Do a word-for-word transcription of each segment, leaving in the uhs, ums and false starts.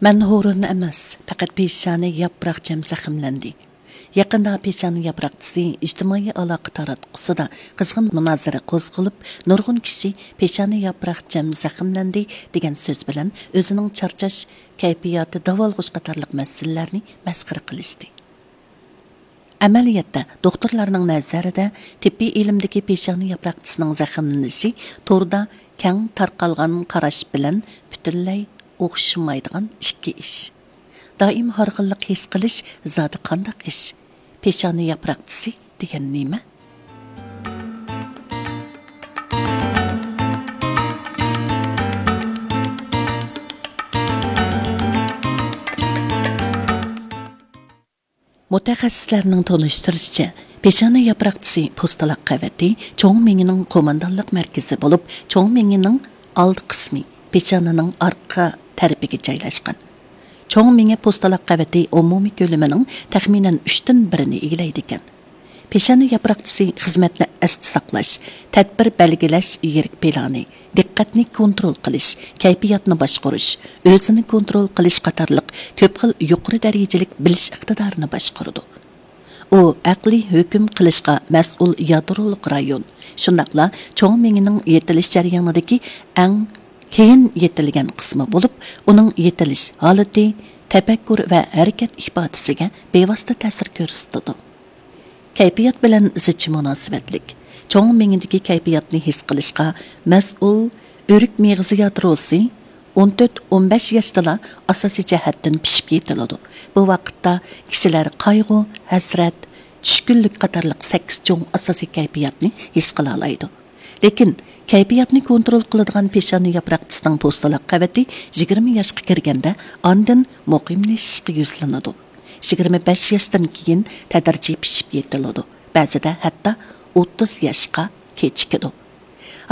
مەن ھورۇن ئەمەس، پەقەت پېشانە ياپراقچام زەخىملەندى. يېقىندا پېشانە ياپراقچىسى ئىجتىمائىي ئالاقە تاراتقۇسىدا قىزغىن مۇنازىرە قوزغىلىپ، نۇرغۇن كىشى «پېشانە ياپراقچام زەخىملەندى» دېگەن سۆز بىلەن ئۆزىنىڭ چارچاش كەيپىياتى، داۋالغۇش قاتارلىق مەسىلىلەرنى مەسخىرە قىلىشتى. ئەمەلىيەتتە، دوختۇرلارنىڭ نەزەرىدە تېببىي ئىلىمدىكى پېشانە ياپراقچىسىنىڭ زەخىملىنىشى توردا كەڭ تارقالغان قاراش بىلەن پۈتۈنلەي ئوخشىمايدىغان ئىككى ئىش. دائىم ھارغىنلىق ھېس قىلىش زادى قانداق ئىش؟ پېشانە ياپراقچىسى دېگەن نېمە؟ مۇتەخەسسىسلەرنىڭ تونۇشتۇرۇشىچە، پېشانە ياپراقچىسى پوستىلاق قەۋىتى چوڭ مېڭىنىڭ قوماندانلىق مەركىزى بولۇپ، چوڭ مېڭىنىڭ ئالدى قىسمى پېشانىنىڭ ئارقا تەرىپىگە جايلاشقان. چوڭ مېڭە پوستىلاق قەۋىتى ئومۇمىي كۆلىمىنىڭ تەخمىنەن ئۈچتىن بىرىنى ئىگىلەيدىكەن. پېشانە ياپراقچىسى خىزمەتنى ئەستە ساقلاش، تەدبىر بەلگىلەش يىرىك پىلانى، دىققەتنى كونترول قىلىش، كەيپىياتنى باشقۇرۇش، ئۆزىنى كونترول قىلىش قاتارلىق كۆپ خىل يۇقىرى دەرىجىلىك بىلىش ئىقتىدارىنى باشقۇرىدۇ. ئۇ ئەقلىي ھۆكۈم قىلىشقا مەسئۇل يادرولۇق رايون، شۇنداقلا چوڭ مېڭىنىڭ يېتىلىش جەريانىدىكى ئەڭ كېيىن يېتىلگەن قىسمى بولۇپ، ئۇنىڭ يېتىلىش ھالىتى، تەپەككۇر ۋە ھەرىكەت ئىپادىسىگە بىۋاسىتە تەسىر كۆرسىتىدۇ. كەيپىيات بىلەن زىچ مۇناسىۋەتلىك. چوڭ مېڭىدىكى كەيپىياتنى ھېس قىلىشقا مەسئۇل ئۆرۈك مېغىزى يادروسى ئون تۆت، ئون بەش ياشتىلا ئاساسىي جەھەتتىن پىشىپ يېتىلىدۇ. بۇ ۋاقىتتا كىشىلەر قايغۇ، ھەسرەت، چۈشكۈنلۈك قاتارلىق سەككىز چوڭ ئاساسىي كەيپىياتنى ھېس قىلالايدۇ. لېكىن كەيپىياتنى كونترول قىلىدىغان پېشانە ياپراقچىسىنىڭ پوستىلاق قەۋىتى يىگىرمە ياشقا كىرگەندە ئاندىن مۇقىملىشىشقا يۈزلىنىدۇ. يىگىرمە بەش ياشتىن كېيىن تەدرىجىي پىشىپ يېتىلىدۇ، بەزىدە ھەتتا ئوتتۇز ياشقا كېچىكىدۇ.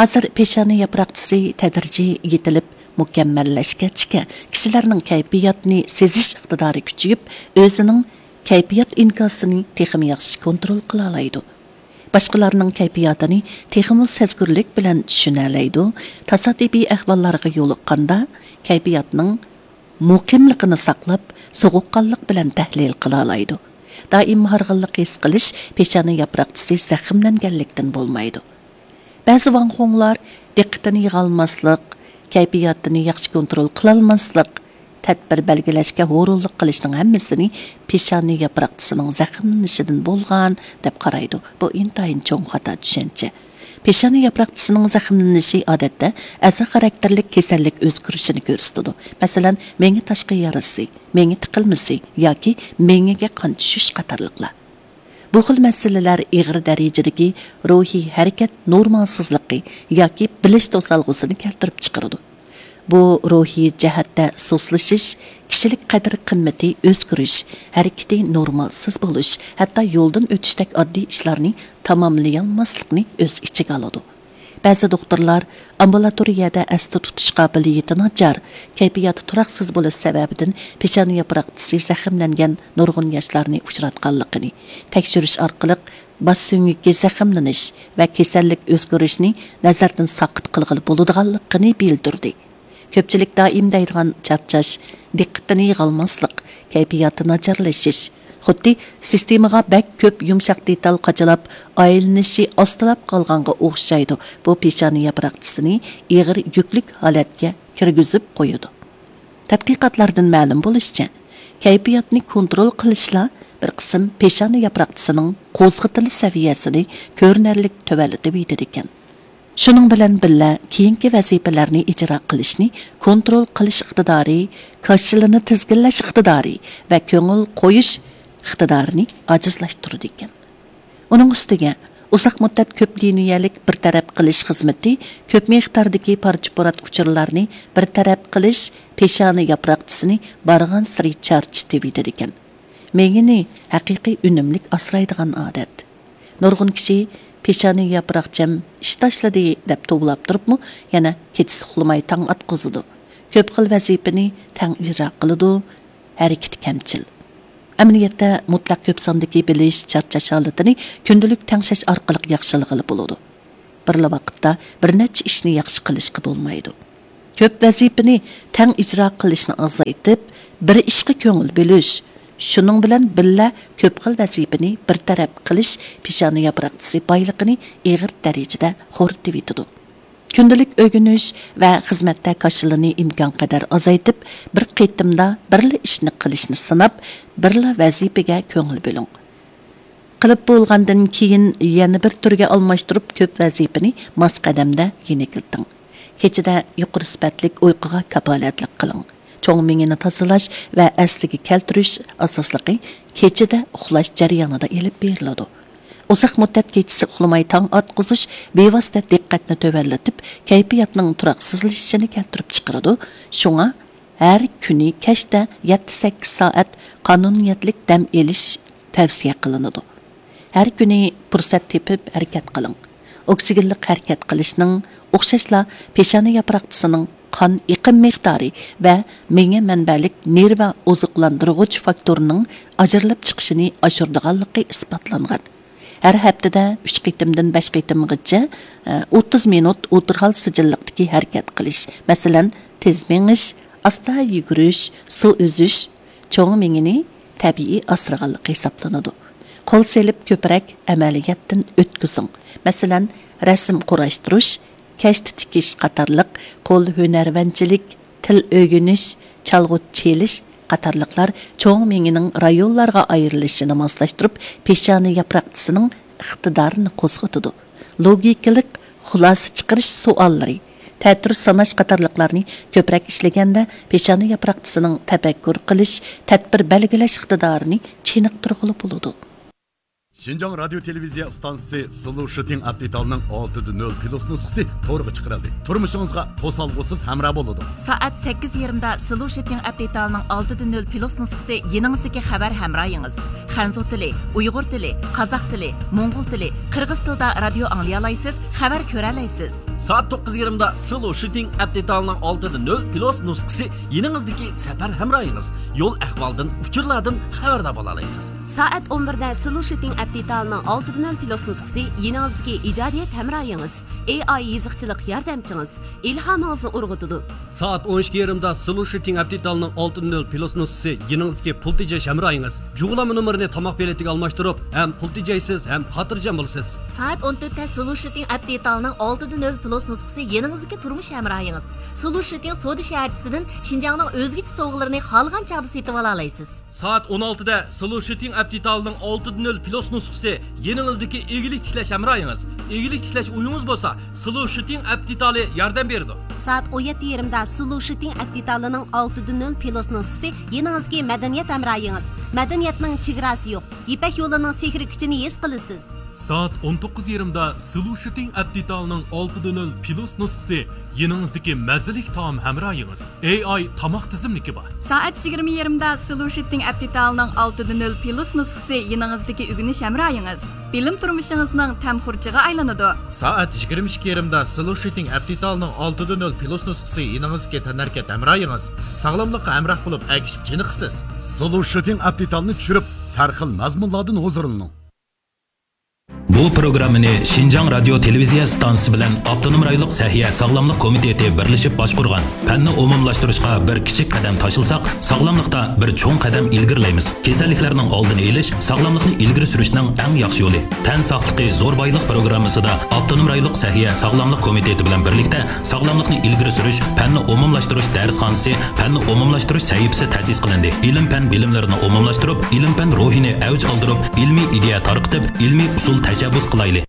ھازىر پېشانە ياپراقچىسى تەدرىجىي يېتىلىپ مۇكەممەللەشكەچكە، كىشىلەرنىڭ كەيپىياتنى سېزىش ئىقتىدارى كۈچىيىپ، ئۆزىنىڭ كەيپىيات ئىنكاسىنى تېخىمۇ ياخشى كونترول قىلالايدۇ. باشقىلارنىڭ كەيپىياتىنى تېخىمۇ سەزگۈرلۈك بىلەن چۈشىنەلەيدۇ. تاسادىپىي ئەھۋاللارغا يولۇققاندا، كەيپىياتنىڭ مۇقىملىقىنى ساقلاپ، سوغۇققانلىق بىلەن تەھلىل قىلالايدۇ. دائىم ھارغىنلىق ھېس قىلىش پېشانە ياپراقچىسى زەخىملەنگەنلىكتىن بولمايدۇ. بەزى ۋاڭخۇڭلار دىققىتىنى يىغالماسلىق، كەيپىياتىنى ياخشى كونترول قىلالماسلىق، تەدبىر بەلگىلەشكە ھۇرۇنلۇق قىلىشنىڭ ھەممىسىنى پېشانە ياپراقچىسىنىڭ زەخىملىنىشىدىن بولغان دەپ قارايدۇ. بۇ ئىنتايىن چوڭ خاتا چۈشەنچە. پېشانە ياپراقچىسىنىڭ زەخىملىنىشى ئادەتتە ئەزا خاراكتېرلىك كېسەللىك ئۆزگىرىشىنى كۆرسىتىدۇ. مەسىلەن، مېڭە تاشقى يارىسى، مېڭە تىقىلمىسى ياكى مېڭىگە قان چۈشۈش قاتارلىقلار. بۇ خىل مەسىلىلەر ئېغىر دەرىجىدىكى روھىي ھەرىكەت نورمالسىزلىقى ياكى بىلىش توسالغۇسىنى كەلتۈرۈپ چىقىرىدۇ. بۇ روھىي جەھەتتە سۇسلىشىش، كىشىلىك قەدىر-قىممىتى ئۆزگىرىش، ھەرىكىتى نورمالسىز بولۇش، ھەتتا يولدىن ئۆتۈشتەك ئاددىي ئىشلارنى تاماملىيالماسلىقنى ئۆز ئىچىگە ئالىدۇ. بەزى دوختۇرلار ئامبۇلاتورىيەدە ئەستە تۇتۇش قابىلىيىتى ناچار، كەيپىياتى تۇراقسىز بولۇش سەۋەبىدىن پېشانە ياپراقچىسى زەخىملەنگەن نۇرغۇن ياشلارنى ئۇچراتقانلىقىنى، تەكشۈرۈش ئارقىلىق باش سۆڭىكى زەخىملىنىش ۋە كېسەللىك ئۆزگىرىشنى نەزەردىن ساقىت قىلغىلى بولىدىغانلىقىنى بىلدۈردى. كۆپچىلىك دائىم دەيدىغان چارچاش، دىققىتىنى يىغالماسلىق، كەيپىياتى ناچارلىشىش، خۇددى سىستېمىغا بەك كۆپ يۇمشاق دېتال قاچىلاپ، ئايلىنىشى ئاستىلاپ قالغانغا ئوخشايدۇ. بۇ پېشانە ياپراقچىسىنى ئېغىر يۈكلۈك ھالەتكە كىرگۈزۈپ قويىدۇ. تەتقىقاتلاردىن مەلۇم بولۇشىچە، كەيپىياتنى كونترول قىلىشلا بىر قىسىم پېشانە ياپراقچىسىنىڭ قوزغىتىلىش سەۋىيەسىنى كۆرۈنەرلىك تۆۋەنلىتىۋېتىدىكەن. شۇنىڭ بىلەن بىللە، كېيىنكى ۋەزىپىلەرنى ئىجرا قىلىشنى كونترول قىلىش ئىقتىدارى، كاشىلىنى تىزگىنلەش ئىقتىدارى ۋە كۆڭۈل قويۇش ئىقتىدارىنى ئاجىزلاشتۇرىدىكەن. ئۇنىڭ ئۈستىگە، ئۇزاق مۇددەت كۆپ لىنىيەلىك بىر تەرەپ قىلىش خىزمىتى كۆپ مىقداردىكى پارچە-پۇرات ئۇچۇرلارنى بىر تەرەپ قىلىش، پېشانە ياپراقچىسىنى بارغانسېرى چارچىتىۋېتىدىكەن. مېڭىنى ھەقىقىي ئۈنۈملۈك ئاسرايدىغان ئادەت. نۇرغۇن كىشى «پېشانە ياپراقچام ئىش تاشلىدى» دەپ توۋلاپ تۇرۇپمۇ، يەنە كېچىسى ئۇخلىماي تاڭ ئاتقۇزىدۇ. كۆپ خىل ۋەزىپىنى تەڭ ئىجرا قىلىدۇ، ھەرىكىتى كەمچىل. ئەمەلىيەتتە، مۇتلەق كۆپ ساندىكى بىلىش، چارچاش ھالىتىنى كۈندىلىك تەڭشەش ئارقىلىق ياخشىلىغىلى بولىدۇ. بىرلا ۋاقىتتا بىر نەچچە ئىشنى ياخشى قىلىشقا بولمايدۇ. كۆپ ۋەزىپىنى تەڭ ئىجرا قىلىشنى ئازايتىپ، بىر ئىشقا كۆڭۈل بۆلۈش، شۇنىڭ بىلەن بىللە كۆپ خىل ۋەزىپىنى بىر تەرەپ قىلىش پېشانە ياپراقچىسى بايلىقىنى ئېغىر دەرىجىدە خورىتىۋېتىدۇ. كۈندىلىك ئۆگىنىش ۋە خىزمەتتە كاشىلىنى ئىمكانقەدەر ئازايتىپ، بىر قېتىمدا بىرلا ئىشنى قىلىشنى سىناپ، بىرلا ۋەزىپىگە كۆڭۈل بۆلۈڭ. قىلىپ بولغاندىن كېيىن يەنە بىر تۈرگە ئالماشتۇرۇپ، كۆپ ۋەزىپىنى ماس قەدەمدە يېنىكلىتىڭ. كېچىدە يۇقىرى سۈپەتلىك ئۇيقۇغا كاپالەتلىك قىلىڭ. چوڭ مېڭىنى تازىلاش ۋە ئەسلىگە كەلتۈرۈش ئاساسلىقى كېچىدە ئۇخلاش جەريانىدا ئېلىپ بېرىلىدۇ. ئۇزاق مۇددەت كېچىسى ئۇخلىماي تاڭ ئاتقۇزۇش بىۋاسىتە دىققەتنى تۆۋەنلىتىپ، كەيپىياتنىڭ تۇراقسىزلىشىشىنى كەلتۈرۈپ چىقىرىدۇ. شۇڭا ھەر كۈنى كەچتە يەتتە سەككىز سائەت قانۇنىيەتلىك دەم ئېلىش تەۋسىيە قىلىنىدۇ. ھەر كۈنى پۇرسەت تېپىپ ھەرىكەت قىلىڭ. ئوكسىگېنلىق ھەرىكەت قىلىشنىڭ، ئوخشاشلا پېشانە ياپراقچىسىنىڭ قان ئېقىم مىقدارى ۋە مېڭە مەنبەلىك نېرۋا ئوزۇقلاندۇرغۇچ فاكتورنىڭ ئاجرىلىپ چىقىشىنى ئاشۇرىدىغانلىقى ئىسپاتلانغان. ھەر ھەپتىدە ئۈچ قېتىمدىن بەش قېتىمغىچە، ئە، ئوتتۇز مىنۇت ئوتتۇرا ھال سىجىللىقتىكى ھەرىكەت قىلىش، مەسىلەن، تېز مېڭىش، ئاستا يۈگۈرۈش، سۇ ئۈزۈش، چوڭ مېڭىنى تەبىئىي ئاسرىغانلىقى ھېسابلىنىدۇ. قول سېلىپ كۆپرەك ئەمەلىيەتتىن ئۆتكۈزۈڭ. مەسىلەن، رەسىم قۇراشتۇرۇش، كەشتە تىكىش قاتارلىق قول ھۈنەرۋەنچىلىك، تىل ئۆگىنىش، چالغۇ چېلىش قاتارلىقلار چوڭ مېڭىنىڭ رايونلارغا ئايرىلىشىنى ماسلاشتۇرۇپ، پېشانە ياپراقچىسىنىڭ ئىقتىدارىنى قوزغىتىدۇ. لوگىكىلىق خۇلاسە چىقىرىش سوئاللىرى، تەتۈر ساناش قاتارلىقلارنى كۆپرەك ئىشلىگەندە، پېشانە ياپراقچىسىنىڭ تەپەككۇر قىلىش، تەدبىر بەلگىلەش ئىقتىدارىنى چېنىقتۇرغىلى بولىدۇ. شىنجاڭ رادىيو تېلېۋىزىيە ئىستانسىسى سلۇشىتىڭ ئەپ دېتالىنىڭ ئالتىدە نۆل پىلۇس نۇسخىسى تورغا چىقىرىلدى. تۇرمۇشىڭىزغا توسالغۇسىز ھەمراھ بولىدۇ. سائەت سەككىز يېرىمدا سلۇشىتىڭ ئەپ دېتالىنىڭ ئالتىدە نۆل پىلۇس نۇسخىسى يېنىڭىزدىكى خەۋەر ھەمراھىڭىز. خەنزۇ تىلى، ئۇيغۇر تىلى، قازاق تىلى، موڭغۇل تىلى، قىرغىز تىلىدا رادىيو ئاڭلىيالايسىز، خەۋەر كۆرەلەيسىز. سائەت توققۇز يېرىمدا سلۇشىتىڭ ئەپ دېتالىنىڭ ئالتىدە نۆل پىلۇس نۇسخىسى يېنىڭىزدىكى سەپەر ھەمراھىڭىز. يول ئەھۋالدىن، ئۇچۇرلاردىن خەۋەردار بولالايسىز. سائەت ئون بىردە سلۇشىتىڭ ئەپ دېتالىنىڭ ئالتىدە نۆل پىلۇس نۇسخىسى يېنىڭىزدىكى ئىجادىيەت ھەمراھىڭىز، ئېي ئاي يېزىقچىلىق ياردەمچىڭىز، ئىلھامىڭىزنى ئۇرغۇتىدۇ. سائەت ئون ئىككى يېرىمدا سلۇشىتىڭ ئەپ دېتالىنىڭ ئالتىدە نۆل پىلۇس نۇسخىسى يېنىڭىزدىكى پۇل تېجەش ھەمراھىڭىز. جۇغلانما نومۇرىنى تاماق بېلىتىگە ئالماشتۇرۇپ، ھەم پۇل تېجەيسىز، ھەم خاتىرجەم بولىسىز. سائەت ئون تۆتتە سلۇشىتىڭ ئەپ دېتالىنىڭ ئالتىدە نۆل پىلۇس نۇسخىسى يېنىڭىزدىكى تۇرمۇش ھەمراھىڭىز. سلۇشىتىڭ سودا شەھەرچىسىدىن شىنجاڭنىڭ ئۆزگىچە سوۋغىلىرىنى خالىغان چاغدا سېتىۋالالايسىز. سائەت ئون ئالتىدە سلۇشىتىڭ ئەپ دېتالىنىڭ ئالتىدە نۆل پىلۇس نۇسخىسى يېنىڭىزدىكى ئىگىلىك تىكلەش ھەمراھىڭىز. ئىگىلىك تىكلەش ئويىڭىز بولسا، سلۇشىتىڭ ئەپ دېتالى ياردەم بېرىدۇ. سائەت ئون يەتتە يېرىمدا سلۇشىتىڭ ئەپ دېتالىنىڭ ئالتىدە نۆل پىلۇس نۇسخىسى يېنىڭىزدىكى مەدەنىيەت ھەمراھىڭىز. مەدەنىيەتنىڭ چېگراسى يوق. يىپەك يولىنىڭ سېھرىي كۈچىنى ھېس قىلىسىز. سائەت ئون توققۇز يېرىمدا سلۇشىتىڭ ئەپ دېتالىنىڭ ئالتىدە نۆل پىلۇس نۇسخىسى يېنىڭىزدىكى مەززىلىك تائام ھەمراھىڭىز. ئېي ئاي تاماق تىزىملىكى بار. سائەت يىگىرمە يېرىمدا سلۇشىتىڭ ئەپ دېتالىنىڭ ئالتىدە نۆل پىلۇس نۇسخىسى يېنىڭىزدىكى ئۆگىنىش ھەمراھىڭىز. بىلىم تۇرمۇشىڭىزنىڭ تەم خۇرجىنىغا ئايلىنىدۇ. سائەت يىگىرمە ئىككى يېرىمدا سلۇشىتىڭ ئەپ دېتالىنىڭ ئالتىدە نۆل پىلۇس نۇسخىسى يېنىڭىزدىكى تەنھەرىكەت ھەمراھىڭىز. ساغلاملىققا ھەمراھ بولۇپ، ئەگىشىپ چېنىقىسىز. سلۇشىتىڭ ئەپ دېتالىنى چۈشۈرۈپ، سەرخىل مەزمۇنلاردىن ھۇزۇرلىنىڭ. بۇ پروگراممىنى شىنجاڭ رادىيو تېلېۋىزىيە ئىستانسىسى بىلەن ئاپتونوم رايونلۇق سەھىيە ساغلاملىق كومىتېتى بىرلىشىپ باشقۇرغان. پەننى ئومۇملاشتۇرۇشقا بىر كىچىك قەدەم تاشلىساق، ساغلاملىقتا بىر چوڭ قەدەم ئىلگىرىلەيمىز. كېسەللىكلەرنىڭ ئالدىنى ئېلىش، ساغلاملىقنى ئىلگىرى سۈرۈشنىڭ ئەڭ ياخشى يولى. تەن ساقلىقى زور بايلىق پروگراممىسىدا ئاپتونوم رايونلۇق سەھىيە ساغلاملىق كومىتېتى بىلەن بىرلىكتە ساغلاملىقنى ئىلگىرى سۈرۈش، پەننى ئومۇملاشتۇرۇش دەرسخانىسى، پەننى ئومۇملاشتۇرۇش سەھىپىسى تەسىس قىلىندى. ئىلىم-پەن بىلىملىرىنى ئومۇملاشتۇرۇپ، ئىلىم-پەن روھىنى ئەۋج ئالدۇرۇپ، ئىلمىي ئىدىيە تارقىتىپ، ئىلمىي ئۇسۇل تەشەببۇس قىلايلى.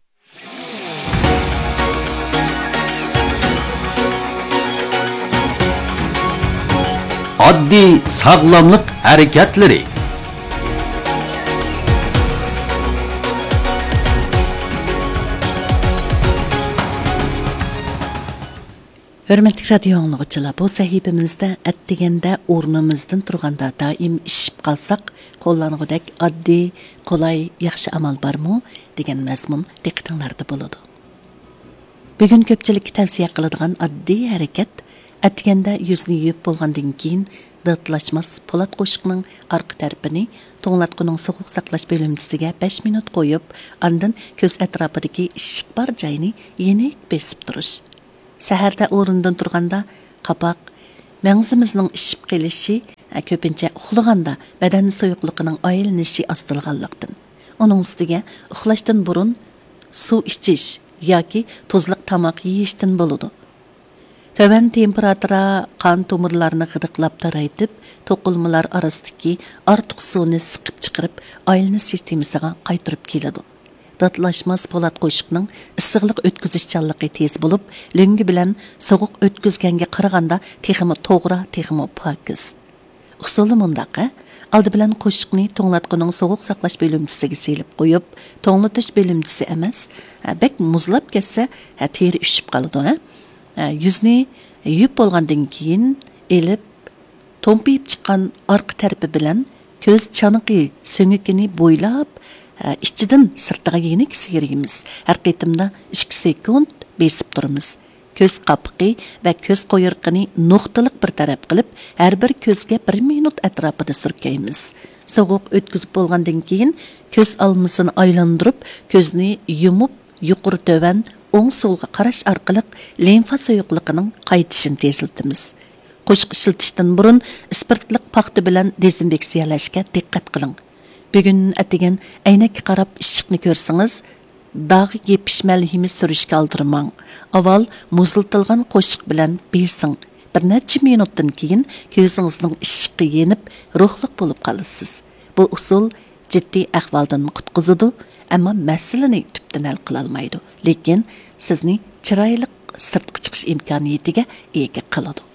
ئاددىي ساغلاملىق ھەرىكەتلىرى. ھۆرمەتلىك رادىيو ئاڭلىغۇچىلار، بۇ سەھىپىمىزدە ئەتىگەندە ئورنىمىزدىن تۇرغاندا دائىم ئىششىپ قالساق قوللانغۇدەك ئاددىي، قولاي، ياخشى ئامال بارمۇ؟ دېگەن مەزمۇن دىققىتىڭلاردا بولىدۇ. بۈگۈن كۆپچىلىككە تەۋسىيە قىلىدىغان ئاددىي ھەرىكەت، ئەتىگەندە يۈزنى يۇيۇپ بولغاندىن كېيىن داتلاشماس پولات قوشۇقنىڭ ئارقا تەرىپىنى توڭلاتقۇنىڭ سوغۇق ساقلاش بۆلۈمچىسىگە بەش مىنۇت قويۇپ، ئاندىن كۆز ئەتراپىدىكى ئىششىق بار جاينى يېنىك بېسىپ تۇرۇش. سەھەردە ئورنىدىن تۇرغاندا قاپاق، مەڭزىمىزنىڭ ئىششىپ قېلىشى، ھە، كۆپىنچە ئۇخلىغاندا بەدەن سۇيۇقلۇقىنىڭ ئايلىنىشى ئاستىلىغانلىقتىن. ئۇنىڭ ئۈستىگە ئۇخلاشتىن بۇرۇن سۇ ئىچىش ياكى تۇزلۇق تاماق يېيىشتىن بولىدۇ. تۆۋەن تېمپېراتۇرا قان تومۇرلارنى غىدىقلاپ تارايتىپ، توقۇلمىلار ئارىسىدىكى ئارتۇق سۇنى سىقىپ چىقىرىپ، ئايلىنىش سىستېمىسىغا قايتۇرۇپ كېلىدۇ. داتلاشماس پولات قوشۇقنىڭ ئىسسىقلىق ئۆتكۈزۈشچانلىقى تېز بولۇپ، لۆڭگە بىلەن سوغۇق ئۆتكۈزگەنگە قارىغاندا تېخىمۇ توغرا، تېخىمۇ پاكىز. ئۇسۇلى مۇنداق، ھە؟ ئالدى بىلەن قوشۇقنى توڭلاتقۇنىڭ سوغۇق ساقلاش بۆلۈمچىسىگە سېلىپ قويۇپ، توڭلىتىش بۆلۈمچىسى ئەمەس، ھە، بەك مۇزلاپ كەتسە، ھە، تېرە ئۈشۈپ قالىدۇ، ھە؟ ھە، يۈزنى يۇيۇپ بولغاندىن كېيىن ئېلىپ، تومپىيىپ چىققان ئارقا تەرىپى بىلەن كۆز چانىقى سۆڭىكىنى بويلاپ، ھە، ئىچىدىن سىرتىغا يېنىك سىيرىيمىز. ھەر قېتىمدا ئىككى سېكۇنت بېسىپ تۇرىمىز. كۆز قاپىقى ۋە كۆز قويرۇقىنى نۇقتىلىق بىر تەرەپ قىلىپ، ھەر بىر كۆزگە بىر مىنۇت ئەتراپىدا سۈركەيمىز. سوغۇق ئۆتكۈزۈپ بولغاندىن كېيىن، كۆز ئالمىسىنى ئايلاندۇرۇپ، كۆزنى يۇمۇپ، يۇقىرى تۆۋەن، ئوڭ سولغا قاراش ئارقىلىق لىمفا سۇيۇقلۇقىنىڭ قايتىشىنى تېزلىتىمىز. قوشۇق ئىشلىتىشتىن بۇرۇن ئىسپىرتلىق پاختا بىلەن دېزىنفېكسىيەلەشكە دىققەت قىلىڭ. بۈگۈن ئەتىگەن ئەينەككە قاراپ ئىششىقنى كۆرسىڭىز، داغ يېپىش مەلھىمى سۈرۈشكە ئالدىرىماڭ. ئاۋۋال مۇزلىتىلغان قوشۇق بىلەن بېسىڭ. بىر نەچچە مىنۇتتىن كېيىن كۆزىڭىزنىڭ ئىششىقى يېنىپ، روھلۇق بولۇپ قالىسىز. بۇ ئۇسۇل جىددىي ئەھۋالدىن قۇتقۇزىدۇ، ئەمما مەسىلىنى تۈپتىن ھەل قىلالمايدۇ، لېكىن سىزنى چىرايلىق سىرتقا چىقىش ئىمكانىيىتىگە ئىگە قىلىدۇ.